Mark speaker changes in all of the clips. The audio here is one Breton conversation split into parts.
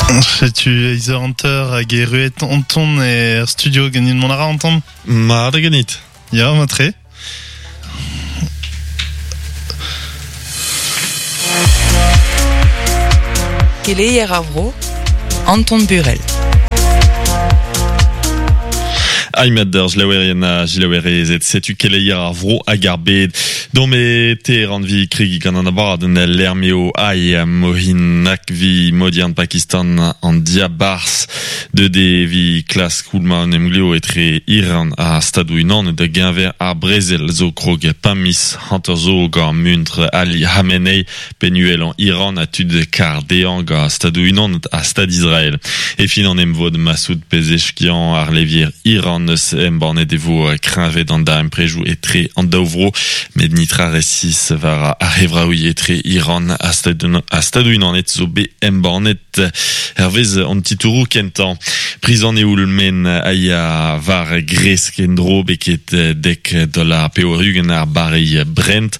Speaker 1: Setu eizh eur hanter hag erruet Anton er studio ganin mont a ra Anton?
Speaker 2: Mat ganit.
Speaker 1: Ya, mat-tre.
Speaker 3: Keleier ar vro, Anton Burel.
Speaker 2: Aimat d'ur selaouerien ha selaouerezed, setu keleier ar vro hag ar bed. Dom e Teheran vi kregi gant an abadenn lec'h ai Mohin Naqvi modiern Pakistan an diabarzh Deuet eo evit klask skoulmañ un emglev etre Iran ha Stadoù-Unanet da geñver ar brezel zo krog pemp miz hanter zo gant muntr Ali Khamenei, penn-uhelañ Iran ha tud kar dezhañ gant Stadoù-Unanet ha Stad Israel. E fin an emvod Masoud Pezeshkian ar levier Iran eus embannet e vo kreñvet an darempredoù etre an daou vro met nitra resis war ar c'hevraouiñ etre Iran ha Stadoù-Unanet zo bet embannet. Hervez an titouroù kentañ, priz an eoul-maen a ya war gresk en-dro beket dek dollar pevar-ugent ar barreilh Brent,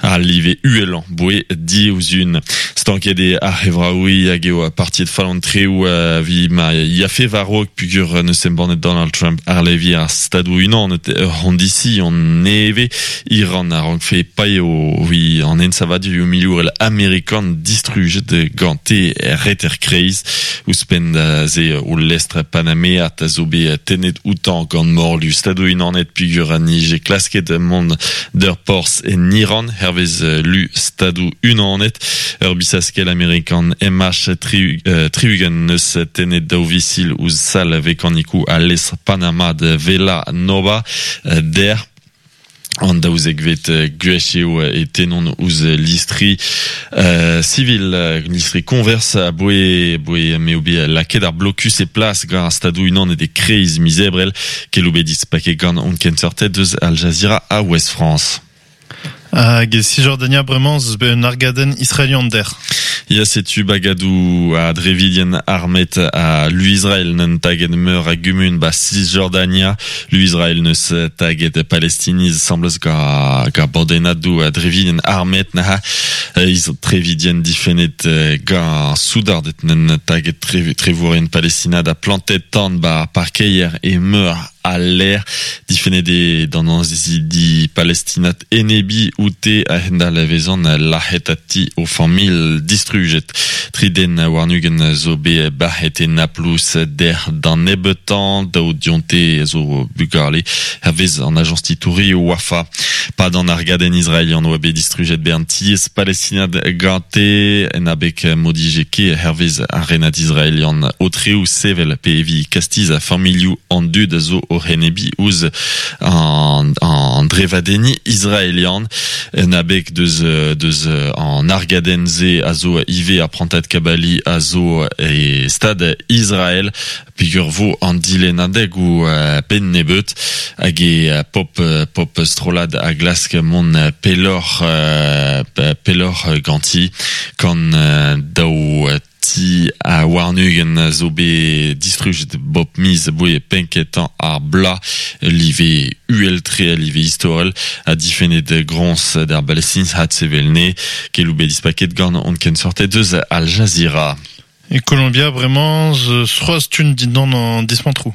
Speaker 2: al live uhelañ boe diouzhun. Stanket eo ar c'hevraouiñ hag eo partiet fall an treoù evit ma yafe war-raok peogwir n'eus embannet Donald Trump àr levier ar Stadoù-Unanet ur c'hondision nevez. Iran a rankfe paeo evit an ensavadurioù milourel amerikan distrujet gante er reter-kreiz. Ouzhpenn da se o lestr panameat a zo bet tennet outañ gant morlu Stadoù-Unanet peogwir a nije klasket mont d'ur porzh en Iran, hervez lu Stadoù-Unanet. Ur bisaskell amerikan MH-60 neus tennet daou visil ouzh sal vekanikoù al lestr Panama da Vela Nova dec'h. An daouzekvet gwech eo e tennont ouzh listri sivil, listri koñvers aboe aboe m'eo bet lakaet ar blokus e plas gant ar Stadoù-Unanet e-kreiz miz Ebrel. Keloù bet dispaket gant hon kenseurted eus Al Jazeera ha Ouest France.
Speaker 1: Hag e Cisjordania bremañ ez eus bet un argadenn israelian dec'h.
Speaker 2: Ya, setu bagadoù a drevidien armet a lu Israel n'eun taget meur a gumun ba Cisjordania. Lu Israel n'eus taget Palestiniz asambles gant gant bandennadoù a drevidien armet neuze. Iz trevidien difennet gant soudarded n'eun taget trevourien palestinat ha plantet tan ba parkeier e meur Al lec'h difennet eo d'an annezidi palestinat enebiñ oute a-hend-all e vezont lazhet ha ti o familh distrujet. Tri den warn-ugent zo bet bac'het e Naplouse dec'h d'an nebeutañ, daou dionte zo bugale, hervez an ajañs titourioù Wafa. Pad an argadenn israelian oa bet distrujet bern tiez palestinat gante en abeg m'o dije ket hervez ar renad israelian aotreoù sevel pe evit kastizañ familhoù an dud a zo oc'h enebiñ ouzh an, an drevadenniñ israelian. En abeg deus, deus an argadenn-se a zo ivez ar prantad kabaliñ a zo e stad Israel. Peogwir vo an dilennadegoù benn nebeut hag e pop pop strollad a glask mont pelloc'h pelloc'h ganti gant daou ti ha warn-ugent zo bet distrujet bop miz aboe penn-kentañ ar bloaz live uhel-tre a live istorel ha difennet groñs d'ar Balestiniz had-sevel-ne keloù bet dispaket gant hon kenseurted eus Al Jazeera.
Speaker 1: E Kolombia bremañ 'z c'hoazh tun dindan an dismantroù.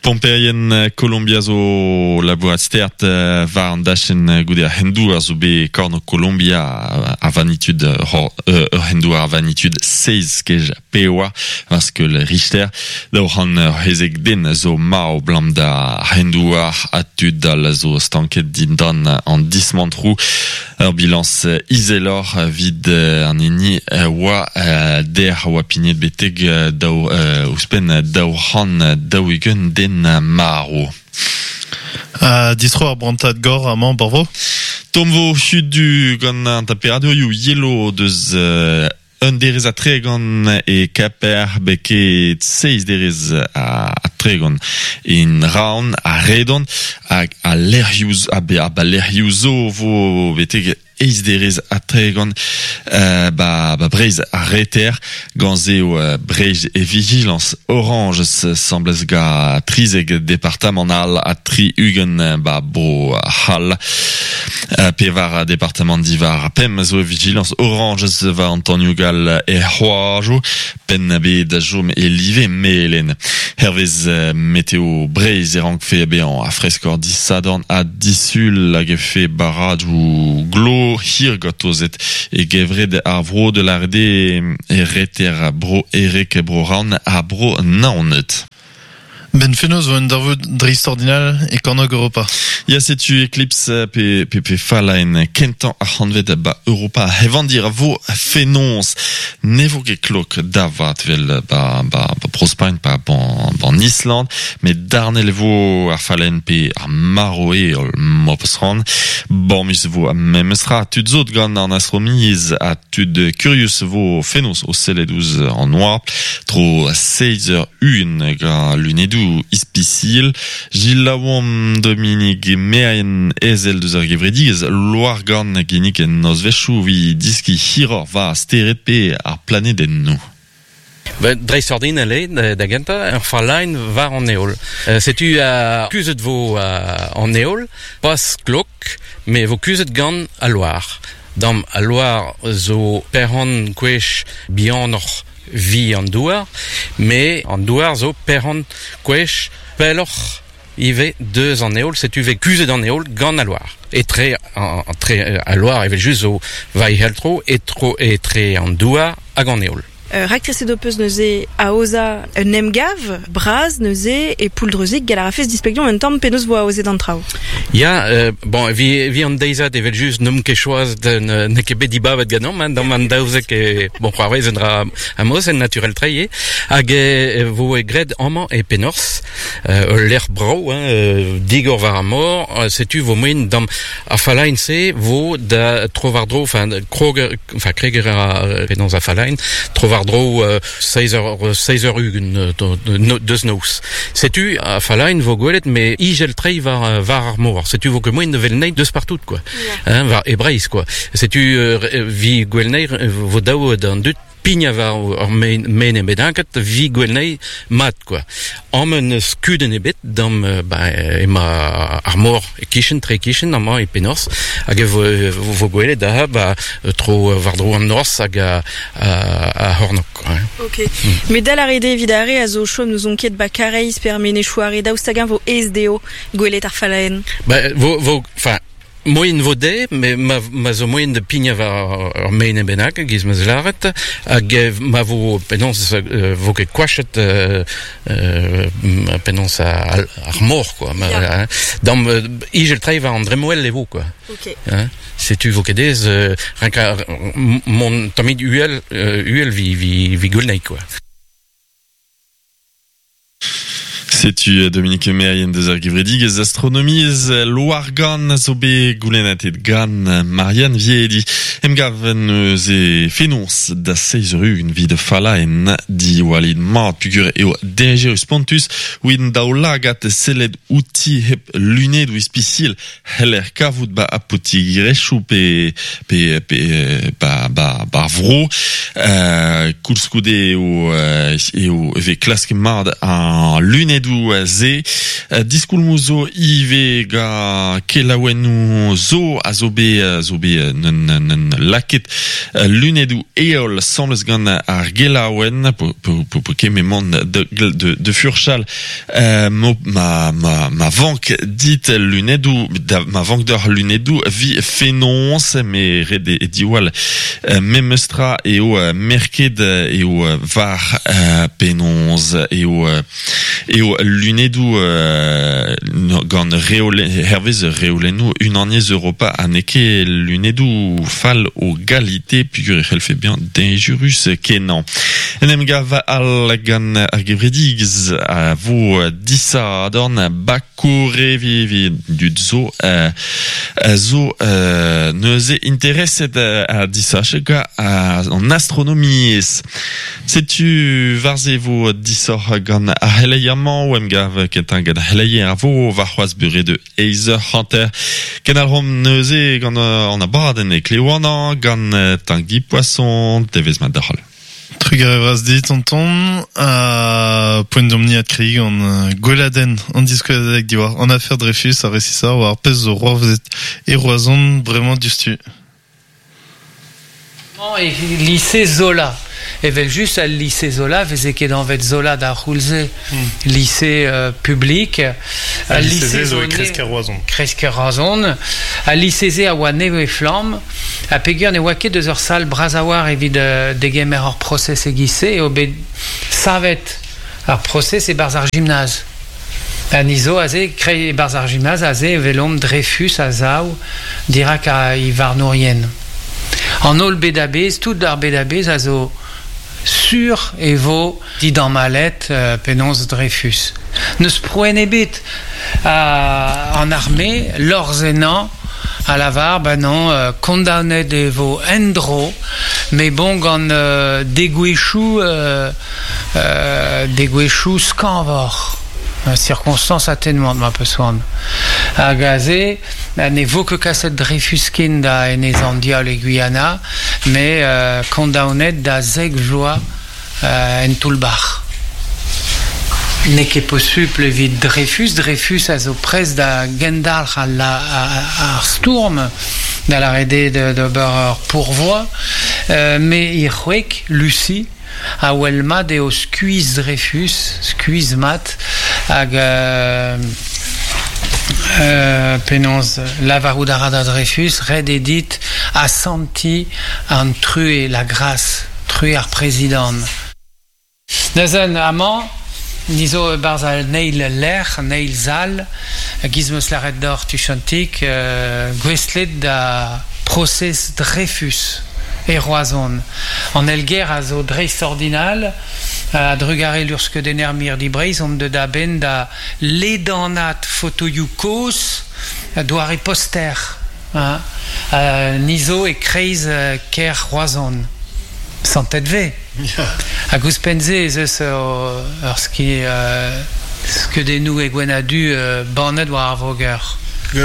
Speaker 2: Pomperien Kolombia zo labourat stert war an dachenn goude ar c'hendouar zo bet kornôg Kolombia a vanitud ur c'hendouar a vanitud seizh skej pevar war skeul Richter. 200 c'hezeg den zo marv 'blam d'ar c'hendouar ha tud all zo stanket dindan an dismantroù. Ur bilañs izeloc'h evit an hini oa dec'h a oa pignet betek daou ouzhpenn 240 den marv.
Speaker 1: Ha distro ar brantad gor amañ Borvo?
Speaker 2: Tomm vo hudu gant an temperadurioù yelo deus Un derez ha tregont e Kaper, beket seizh derez ha tregont en Raon ha Redon hag al lec'hioù ha lec'hioù zo vo betek eizh derez ha tregont ba ba Breizh ar Reter. Gant se eo Breizh e vijilañs orañj asambles gant trizek departamant all ha tri-ugent ba Bro-C'hall. Pevar departamant diwar pemp zo e vijilañs orañjez war an tanioù gall er c'hoajoù. Penn-a-bed a chom e live melen. Hervez Meteo Breizh e rankfe bezañ a freskor disadorn ha disul hag e fe barradoù glo hir gortozet e gevred ar vro de lâret eo e reter Bro Ereg, Bro Raon ha Bro Naoned.
Speaker 1: Ben fenoz vo un darvoud dreistordinal e kornôg Europa.
Speaker 2: Ya, setu Eclipse pe, pe, pe fallaenn kentañ ar c'hantved ba Europa hevandir a vo fenoz. Ne vo ket klok da vat vel ba, ba, ba Bro-Spagn pa ban Island, met darnel e vo ar fallaenn pe ar marv eo mopeus c'hoant. Bamus vo memes tra tud zo gant an astronomiezh ha tud kurius vo fenoz o sellet ouzh an oabl. Tro seizh eur un gant lunedoù ispisial. Gilaouomp Dominique Merien, ezel deus ar gevredigezh Loargann a ginnig nozvezhioù evit diskiñ hiroc'h war stered pe ar planedennoù.
Speaker 4: Dreistordinal eo da gentañ, ur fallaenn war an heol. Setu kuzhet vo an heol, pas klok, met vo kuzhet gant al loar. Dam al loar zo perc'henn gwech bihanoc'h vi an douar, met an douar zo perc'henn gwech pelloc'h ivez deus an heol, setu vez kuzhet an heol gant al loar. Etre, entre al loar evel-just zo war e tro, etre an douar hag an heol.
Speaker 5: Raktreset ho peus neuze aozañ un emgav bras neuze e Pouldreuzig. Gall a rafes displegañ un tamm penaos 'vo aozet an traoù?
Speaker 4: Ya, bon, evit an deizad evel-just n'omp ket choazet, n'eo ket bet dibabet ganeomp, hein, dam an 12 e, bon, c'hoarvez un dra amos, en naturel-tre eo, hag e vo graet amañ e Penorzh. Ul lec'h brav, hein, digor war ar mor, setu vo moaien dam ar fallaenn-se vo da tro-war-dro, enfin krog, enfin kreger a penaos ar fallaenn, tro-war-dro seizh eur, seizh eur ugent deus noz. Setu ar fallaenn vo gwelet met ijel-tre war war ar mor. Setu vo ket moaien da wel anezhi deus partout quoi, hein, war e Breizh quoi. Setu vi gwel anezhi vo dav d'an dud Pignañ war ur mene bennaket 'vi gwell mat kwa. Amañ n'eus kudenn ebet dam ba emañ ar mor e-kichen, tre e-kichen amañ e Penorzh hag e vo gwelet aze ba tro war-dro an norzh hag ar c'hornôg kwa.
Speaker 5: Ok. Met dal a rit evit ar re a zo o chom n'ouzon ket ba Kareiz pe er menezioù are daoust hag-eñ 'vo aes dezho gwelet ar fallaenn?
Speaker 4: Ba vo vo enfin Moaien vo dezhe, met ma, ma zo moaien da pignañ war ur maen bennak, e-giz ma 'z lâret, hag ma vo penaos vo ket koachet penaos ar mor, quoi. Ma, yeah. Dam ijel-tre war an dremmwel e vo, quoi.
Speaker 5: Ok.
Speaker 4: Hein? Setu vo ket aes renkañ mont tammig uhel, uhel vi, vi, vi gwell quoi.
Speaker 2: Setu Dominique Merien deus ar gevredigezh astronomiezh Loargann a zo bet goulennatet gant Marianne Viedi. Emgav neuze fenoz da seizh eur ugent 'vit fallaenn diwallit mat peogwir eo dañjerus spontus evit an daoulagad sellet outi hep lunedoù ispisial c'heller kavout ba apotigerezhioù pe pe pe ba ba ba'r vro. Koulskoude eo eo e vez klask mat ar lunedoù-se. Diskoulmoù zo ivez gant kelaouennoù zo a zo bet zo bet un lakaet lunedoù heol asambles gant ar gelaouenn po ket mont de de furchal Ma, ma, ma vank dit lunedoù, da, ma vank deoc'h lunedoù vi fenoz, me ret eo diwall memes tra eo merket eo war penaos eo eo lunedoù gant reole, hervez reolennoù Unaniezh Europa ha n'eo ket lunedoù fall o galite peogwir e c'hellfe bezañ dañjerus kenañ. En em gav all gant ar gevredigezh a vo disadorn Bakore vi dud zo zo neuze intereset ha disachet gant an astronomiezh. Setu war-se vo disoc'h gant ar c'heleier-mañ o emgav kentañ gant ar c'heleier a vo warc'hoazh beure de eizh eur hanter. Kenalc'homp neuze gant an abadenn e Kleouanañ gant Tangi Poisson. Devezh mat deoc'h holl.
Speaker 1: Trugarez vras dit, tonton. Ha poent deomp-ni adkregiñ gant gweladenn an diskouezadeg diwar an afer Dreyfus ha resisoc'h war ar pezh zo c'hoarvezet e Roazhon bremañ diouzhtu.
Speaker 6: E lise Zola. Evel just al lycée Zola veze ket anvet Zola d'ar c'houlz-se. Lycée public.
Speaker 1: Al lycée-se zo e kreiz-kêr Roazhon.
Speaker 6: Kreiz-kêr Roazhon. Al lycée-se a oa nevez-flamm ha peogwir ne oa ket eus ur sal bras a-walc'h evit degemer ur prosez e-giz-se eo bet savet ar prosez e-barzh ar gimnaz. Ha ni zo aze, e-barzh ar gimnaz aze e welomp Dreyfus a-sav dirak e varnourien. An holl bed a-bezh, tout ar bed a-bezh a zo sur e vo didamallet penaos Dreyfus. N'eus prouenn ebet. An arme, lorc'h ennañ, a lavar, ben non, kondaonet e vo en-dro, met bon gant degouezhioù degouezhioù skañvoc'h. Circonstance atténuante ma peus c'hoant. Hag aze ne vo ket kaset Dreyfus ken da Enez an Diaoul e Guyana, met kondaonet da zek vloaz en toull-bac'h. N'eo ket posupl evit Dreyfus. Dreyfus a zo prest da gendalc'h ar stourm, da lâret eo d'ober ur pourvoi, met he c'hwreg, Lucie, a wel mat eo skuizh Dreyfus, skuizh mat, hag penaos lavarout a ra da Dreyfus, ret eo dit asantiñ an truez, la grâce, truez ar prezidant. Neuze amañ ni zo e-barzh an eil lec'h, an eil sal, e-giz 'm eus lâret deoc'h tuchantik, gouestlet da prosez Dreyfus e Roazhon. An eil-gêr a zo dreistordinal, a-drugarez luc'hskeudenner Mirdi Breizh omp deuet a-benn da ledanaat fotoioù kozh doare poster. Ni zo e-kreiz kêr Roazhon. Santet 'vez. Hag ouzhpenn-se ez eus ur skeudennoù e gwenn-ha-du bannet war ar voger.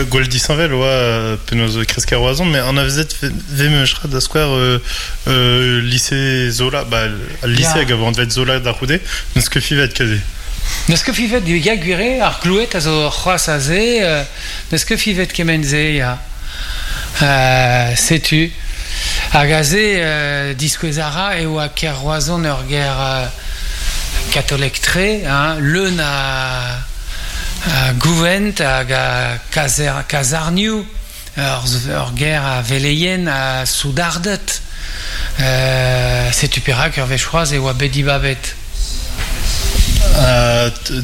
Speaker 1: Gwall disheñvel oa penaos kresk ar Roazhon, met anavezet 'vez memes tra da skouer lise Zola, ba al lise hag a vo anvet Zola da c'houde, n'eus ket fivet kazi.
Speaker 6: N'eus ket fivet, ya gwir eo, ar gloued a zo c'hoazh aze. N'eus ket fivet kement-se, ya. Setu. Hag aze, diskouez a ra e oa kêr Roazhon ur gêr katolek-tre, hein, leun a gouent hag a kazarnioù, ur gêr a veleien ha soudarded. Setu perak ur wech c'hoazh e oa bet dibabet.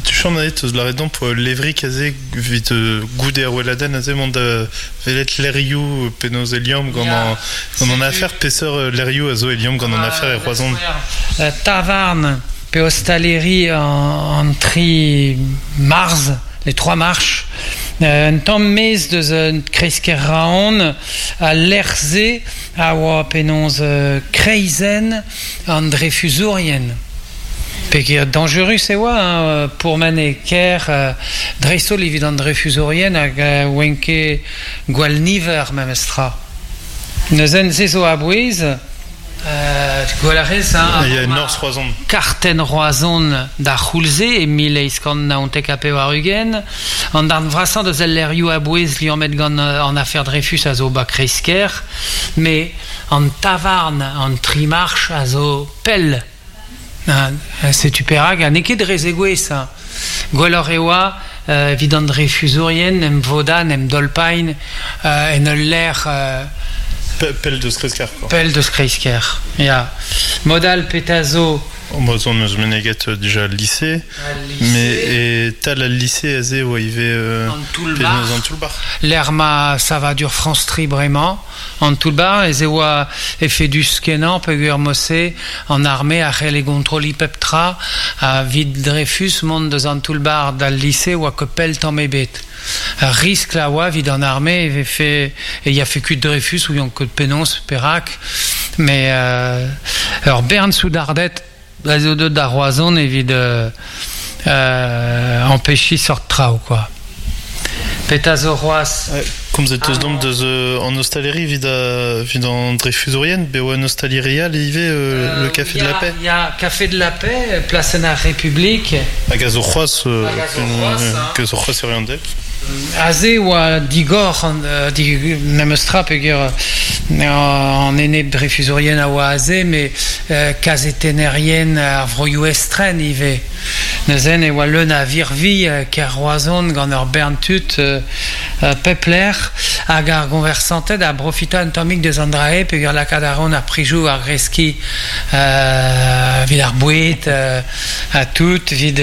Speaker 1: Tuchant aet eus lâret deomp levrig aze evit goude ar weladenn aze mont da welet lec'hioù penaos e liamm gant an afer. Peseurt lec'hioù a zo e liamm gant an afer e Roazhon?
Speaker 6: Tavarn pe ostaleri an tri marzh, les trois marches. Un tamm maez deus kreiz-kêr Raon, al lec'h-se a oa penaos kreizenn an drefuzourien. Peger dañjerus e oa hein, pourmen e kêr, dreist-holl evit an drefuzourien hag oant ket gwall niver memestra. Neuze se zo a-bouez. Gwell a rez, hein,
Speaker 1: Il y a Norzh Roazhon.
Speaker 6: Kartenn Roazhon d'ar c'houlz-se e 1899. An darn vrasañ deus al lec'hioù a-bouez liammet gant an afer Dreyfus a zo ba kreiz-kêr, met an tavarn, an trimarch a zo pell. Setu perak, ha n'eo ket dre zegouezh. Gwelloc'h e oa evit an drefuzourien em vodañ, em dolpain en ul lec'h...
Speaker 1: Pell deus kreiz-kêr, quoi.
Speaker 6: Pell deus kreiz-kêr, ya. Mod all, petra zo...
Speaker 1: Bon, on eus meneget dija al lycée, mais e-tal al lycée aze e oa ivez
Speaker 6: an toull-bac'h. An toull-bac'h. Lec'h ma savadur France Tri bremañ. An toull-bac'h ez e oa efedus-kenañ peogwir mod-se an arme a c'helle gontrolliñ pep tra ha evit Dreyfus mont deus an toull-bac'h d'al lise oa ket pell tamm ebet. Ur riskl a oa evit an arme e vefe e yafe kuit Dreyfus ouion ket penaos perak met ur bern soudarded a zo deuet da Roazhon evit ampechiñ seurt traoù quoi. Petra zo c'hoazh?
Speaker 1: Komzet eus domp deus an ostaleri evit evit an drefuzourien, bet oa un ostaleri all ivez, le Café de la Paix.
Speaker 6: Ya, Café de la Paix, plasenn ar Republik.
Speaker 1: Hag a zo c'hoazh, hag a zo c'hoazh, hag a zo c'hoazh e Rianteg.
Speaker 6: Aze oa digor an, di, memes tra peogwir an enep dreyfusourien a oa aze, met kazetennerien ar vroioù estren ivez. Neuzen e oa leun a virvilh kêr Roazhon gant ur bern tud pep lec'h hag ar goñversanted a brofita un tammig deus an dra-se peogwir lakaat a reont ar prizioù war greskiñ evit ar boued ha tout, evit